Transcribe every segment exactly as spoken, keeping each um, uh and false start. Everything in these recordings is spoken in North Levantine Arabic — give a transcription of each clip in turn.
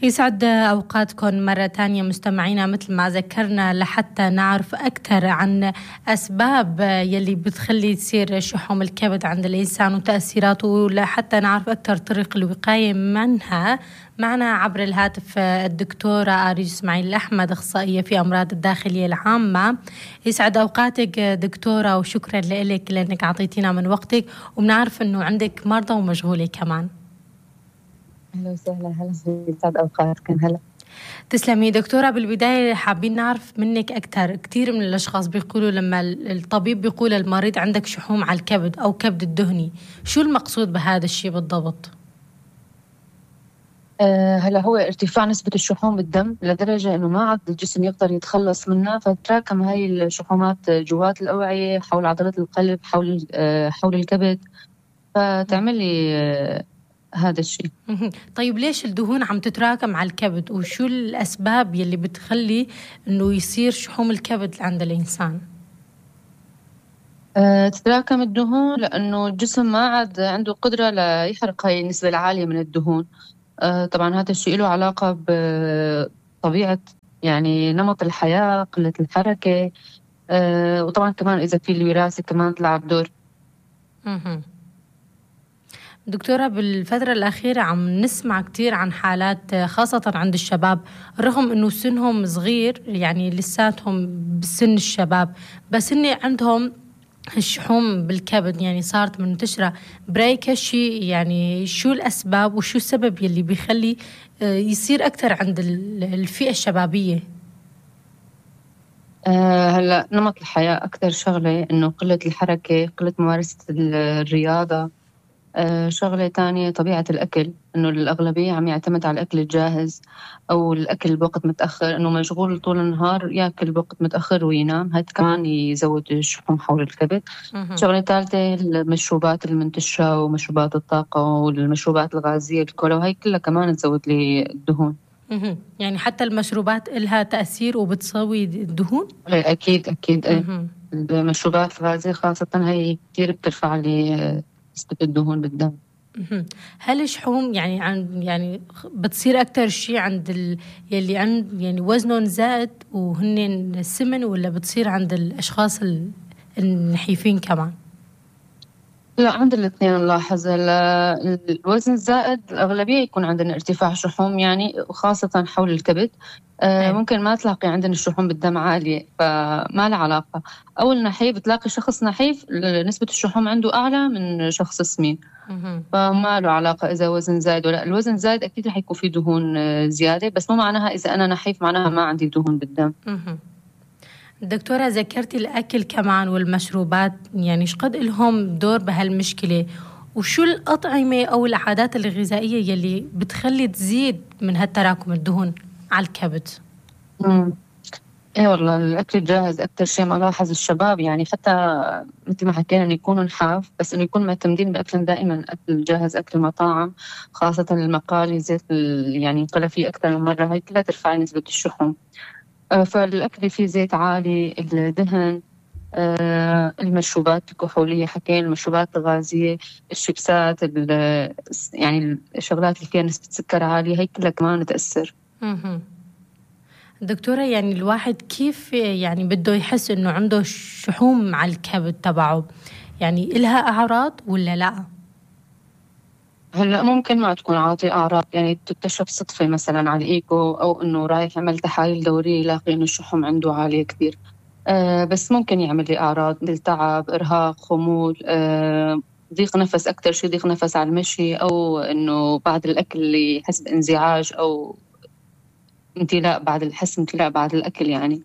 يسعد أوقاتكم مرة تانية مستمعينا. مثل ما ذكرنا لحتى نعرف أكثر عن أسباب يلي بتخلي تصير شحوم الكبد عند الإنسان وتأثيراته، لحتى نعرف أكثر طرق الوقاية منها، معنا عبر الهاتف الدكتورة آريج إسماعيل الأحمد، أخصائية في أمراض الداخلية العامة. يسعد أوقاتك دكتورة، وشكرا لك لأنك عطيتينا من وقتك، وبنعرف أنه عندك مرضى ومشغولة كمان. أهلا وسهلا. هلا يسعد أوقاتكم. هلا تسلمي دكتورة. بالبداية حابين نعرف منك أكثر. كثير من الأشخاص بيقولوا لما الطبيب بيقول المريض عندك شحوم على الكبد أو كبد الدهني، شو المقصود بهذا الشيء بالضبط؟ أه هلا هو ارتفاع نسبة الشحوم بالدم لدرجة إنه ما عاد الجسم يقدر يتخلص منها، فتراكم هاي الشحومات جوات الأوعية، حول عضلات القلب، حول أه حول الكبد، فتعمل لي أه هذا الشيء. طيب ليش الدهون عم تتراكم على الكبد، وشو الأسباب يلي بتخلي إنه يصير شحوم الكبد عند الإنسان؟ أه تتراكم الدهون لأنه الجسم ما عاد عنده قدرة ليحرق هاي النسبة العالية من الدهون. أه طبعا هذا الشيء له علاقة بطبيعة يعني نمط الحياة، قلة الحركة، أه وطبعا كمان إذا في الوراثة كمان تلعب دور. دكتورة، بالفترة الأخيرة عم نسمع كتير عن حالات خاصة عند الشباب، رغم أنه سنهم صغير، يعني لساتهم بسن الشباب، بس إن عندهم الشحوم بالكبد يعني صارت منتشرة. برأيك هالشي يعني شو الأسباب وشو السبب يلي بيخلي يصير أكتر عند الفئة الشبابية؟ أه هلا نمط الحياة أكتر شغلة، إنه قلة الحركة، قلة ممارسة الرياضة. أه شغلة تانية طبيعة الأكل، إنه الأغلبية عم يعتمد على الأكل الجاهز أو الأكل بوقت متأخر، إنه مشغول طول النهار يأكل بوقت متأخر وينام، هاد كمان يزود الشحوم حول الكبد. شغلة ثالثة المشروبات المنتشرة ومشروبات الطاقة والمشروبات الغازية، الكولا، وهي كلها كمان تزود لي الدهون. يعني حتى المشروبات إلها تأثير وبتسوي الدهون؟ أكيد أكيد. ايه المشروبات الغازية خاصة هي كتير بترفع لي نسبة الدهون بالدم. هل الشحوم يعني عن يعني بتصير أكتر شيء عند ال... يلي عند يعني وزنهم زائد وهن سمن، ولا بتصير عند الأشخاص النحيفين كمان؟ لا، عند الاثنين نلاحظ. الوزن الزائد الأغلبية يكون عندنا ارتفاع شحوم يعني، وخاصة حول الكبد. آه ممكن ما تلاقي عندنا الشحوم بالدم عالية، فما له علاقة. أو النحيف بتلاقي شخص نحيف نسبة الشحوم عنده أعلى من شخص سمين، فما له علاقة إذا وزن زايد ولا. الوزن زايد أكيد رح يكون فيه دهون زيادة، بس مو معناها إذا أنا نحيف معناها ما عندي دهون بالدم. دكتورة، ذكرتي الأكل كمان والمشروبات، يعني شقد لهم دور بهالمشكلة؟ وشو الأطعمة أو العادات الغذائية يلي بتخلي تزيد من هالتراكم الدهون على الكبد؟ مم. ايه والله الاكل الجاهز اكثر شيء ملاحظ الشباب، يعني حتى مثل ما حكينا انه يكونوا نحاف، بس انه يكون معتمدين باكل دائما اكل جاهز، اكل المطاعم، خاصه المقالي، زيت يعني ينقلى فيه اكثر من مره، هاي كلها ترفع نسبه الشحوم. آه فالاكل فيه زيت عالي، الدهن، آه المشروبات الكحوليه حكينا، المشروبات الغازيه، الشيبسات، يعني الشغلات اللي فيها نسبه سكر عاليه، هاي كلها كمان تاثر. دكتورة، يعني الواحد كيف يعني بده يحس إنه عنده شحوم على الكبد تبعه؟ يعني إلها أعراض ولا لا؟ هلا ممكن ما تكون عاطي أعراض، يعني تكتشف صدفة مثلا على الإيكو، أو إنه رايح يعمل تحاليل دورية يلاقي إنه الشحوم عنده عالية كثير. آه بس ممكن يعمل لي أعراض مثل تعب، إرهاق، خمول، آه ضيق نفس، أكتر شيء ضيق نفس على المشي، أو إنه بعد الأكل اللي يحس بانزعاج أو امتلاء بعد الحس امتلاء بعد الأكل يعني.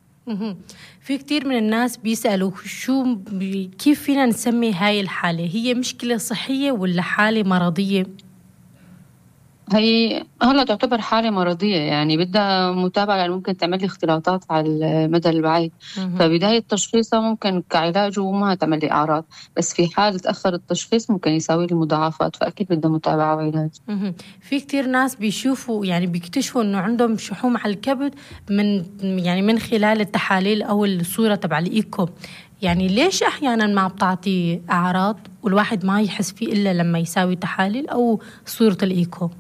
في كتير من الناس بيسألوا شو كيف فينا نسمي هاي الحالة؟ هي مشكلة صحية ولا حالة مرضية؟ هي هلا تعتبر حالة مرضية، يعني بدها متابعة، يعني ممكن تعمل لي اختلاطات على المدى البعيد. فبداية تشخيصها ممكن كعلاج وما تعمل لي أعراض، بس في حال تأخر التشخيص ممكن يساوي لي مضاعفات، فأكيد بدها متابعة وعلاج. في كتير ناس بيشوفوا يعني بيكتشفوا إنه عندهم شحوم على الكبد من يعني من خلال التحاليل أو الصورة تبع الإيكو. يعني ليش أحيانا ما بتعطي أعراض والواحد ما يحس فيه إلا لما يساوي تحاليل أو صورة الإيكو؟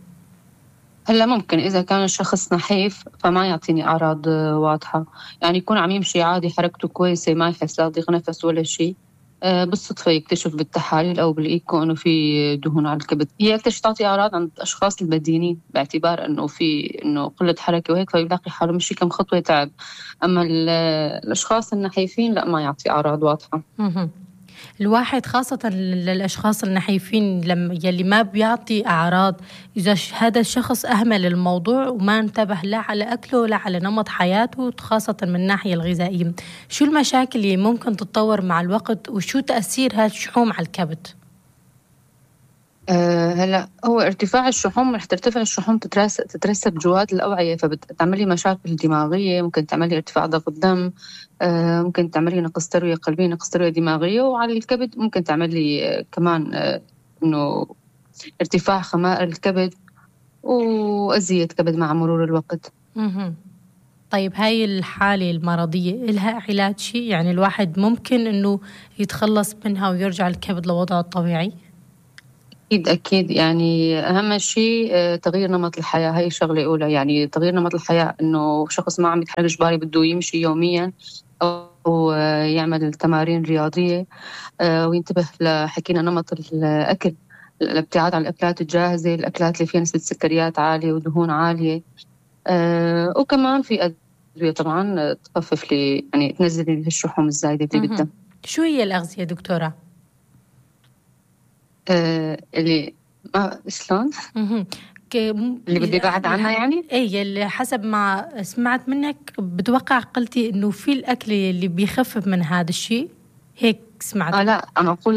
هلا ممكن إذا كان الشخص نحيف فما يعطيني أعراض آه، واضحة، يعني يكون عم يمشي عادي حركته كويسة ما يحس لا ضيق نفس ولا شيء. آه، بالصدفة يكتشف بالتحاليل أو بالإيكو إنه في دهون على الكبد. هي أكتر شي تعطي أعراض عند الأشخاص البدينين باعتبار إنه في إنه قلة حركة وهيك فيلاقي حاله مشي كم خطوة تعب. أما ال- الأشخاص النحيفين لا، ما يعطي أعراض واضحة. مهم. الواحد خاصة للأشخاص النحيفين لما يلي ما بيعطي أعراض، إذا ش- هذا الشخص أهمل الموضوع وما انتبه لا على أكله ولا على نمط حياته خاصة من الناحية الغذائية، شو المشاكل اللي ممكن تتطور مع الوقت وشو تأثير هذا الشحوم على الكبد؟ أه هلا هو ارتفاع الشحوم، رح ترتفع الشحوم تترس- تترسب جوات الأوعية فبتعملي مشاكل دماغية، ممكن تعملي ارتفاع ضغط الدم، أه ممكن تعملي نقص تروية قلبية، نقص تروية دماغية، وعلى الكبد ممكن تعملي أه كمان أه إنه ارتفاع خمائر الكبد وأذية كبد مع مرور الوقت. مهم. طيب هاي الحالة المرضية إلها علاج شيء؟ يعني الواحد ممكن إنه يتخلص منها ويرجع الكبد لوضعه الطبيعي؟ أكيد أكيد، يعني أهم شيء آه، تغيير نمط الحياة، هاي شغلة أولى. يعني تغيير نمط الحياة إنه شخص ما عم يتحرك إجباري بده يمشي يوميا أو آه، يعمل تمارين رياضية، آه، وينتبه لحكينا نمط الأكل، الابتعاد عن الأكلات الجاهزة، الأكلات اللي فيها نسبة سكريات عالية ودهون عالية. آه، وكمان في أدوية طبعا آه، تخفف لي يعني تنزل لي الشحوم الزايدة اللي بالدم. مهم. شو هي الأغذية دكتورة؟ آه، اللي ما شلون مهم. ك- م- اللي بدي بعد عنها يعني. اي اللي حسب ما سمعت منك بتوقع قلتي انه في الاكل اللي بيخفف من هذا الشيء، هيك سمعت. اه لا، انا اقول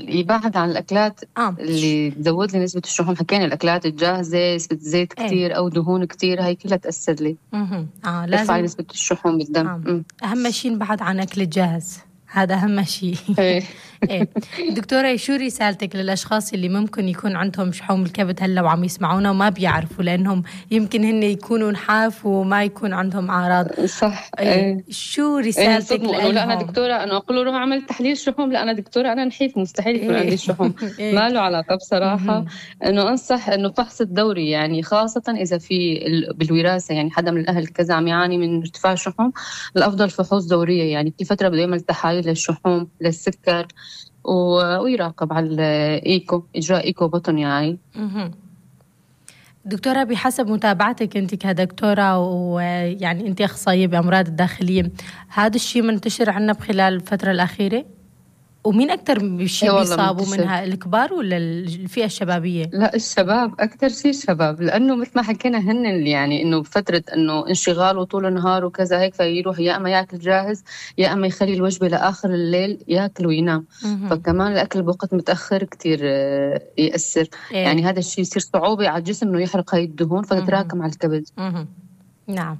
يبعد عن الاكلات اه اللي تزود لي نسبة الشحوم. حكينا الاكلات الجاهزة، نسبة زيت ايه كتير او دهون كتير، هاي كلها تأثر لي، مهم. اه ترفع لي لازم. نسبة الشحوم بالدم. آه. أمم. اهم شيء نبعد عن اكل الجاهز، هذا اهم شيء. ايه ايه دكتورة، شو رسالتك للاشخاص اللي ممكن يكون عندهم شحوم الكبد هلا وعم يسمعونا وما بيعرفوا، لانهم يمكن هن يكونوا نحاف وما يكون عندهم اعراض؟ صح. ايه ايه شو ايه رسالتك صدموا انه لا انا لهم؟ دكتورة، انا اقول له روح اعمل تحليل شحوم، لا انا دكتورة انا نحيف مستحيل يكون عندي ايه الشحوم. ايه ما له علاقة بصراحة. مهم. انه انصح انه فحص الدوري، يعني خاصة اذا في ال- بالوراثة، يعني حدا من الاهل كذا عم يعاني من ارتفاع الشحوم، الافضل فحوص دورية، يعني كل فترة بده يعمل تحاليل للشحوم للسكر و- ويراقب على الايكو، اجراء ايكو بطن يعني. مهم. دكتورة، بحسب متابعتك أنت كدكتورة ويعني أنت أخصائية بأمراض الداخلية، هذا الشيء منتشر عنا بخلال الفترة الأخيرة؟ ومين أكتر ايه شيء والله بيصابوا منتشر. منها، الكبار ولا الفئة الشبابية؟ لا الشباب أكتر شيء، الشباب، لأنه مثل ما حكينا هن اللي يعني إنه بفترة إنه انشغال وطول النهار وكذا هيك، فيروح يا أما ياكل جاهز يا أما يخلي الوجبة لآخر الليل ياكل وينام. مهم. فكمان الأكل بوقت متأخر كتير آه، يأثر. إيه. يعني هذا الشيء يصير صعوبة على الجسم إنه يحرق هاي الدهون مهم. فتتراكم على الكبد. مهم. نعم.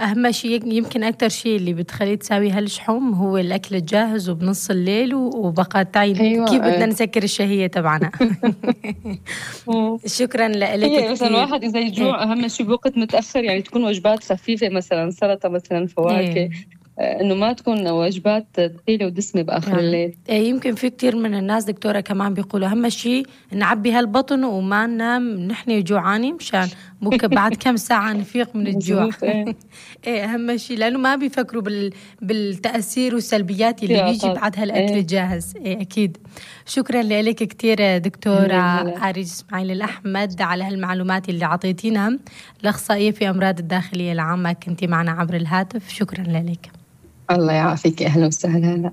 أهم شيء يمكن أكتر شيء اللي بتخلي تساوي هالشحوم هو الأكل الجاهز وبنص الليل و- وبقى تعين أيوة كيف بدنا آه. نسكر الشهية تبعنا. شكرا لك هي مثلا كتير. الواحد إذا إيه. يجوع أهم شيء بوقت متأخر، يعني تكون وجبات خفيفة، مثلا سلطة، مثلا فواكه، إيه. آه، إنه ما تكون وجبات ثقيلة ودسمة بآخر نعم. الليل. إيه، يمكن في كتير من الناس دكتورة كمان بيقولوا أهم شيء نعبي هالبطن وما ننام نحن جوعانين مشان ممكن بعد كم ساعة نفيق من الجوع. مظبوط. ايه إيه أهم شيء، لأنه ما بيفكروا بال... بالتأثير والسلبيات اللي بيجي احتياطات. بعد هالأكل ايه الجاهز. إيه أكيد. شكرا لك كتير دكتورة هلا هلا. آريج إسماعيل الأحمد على هالمعلومات اللي عطيتينها، الأخصائية في أمراض الداخلية العامة، كنتي معنا عبر الهاتف. شكرا لك. الله يعافيك، اهلا وسهلا. هلا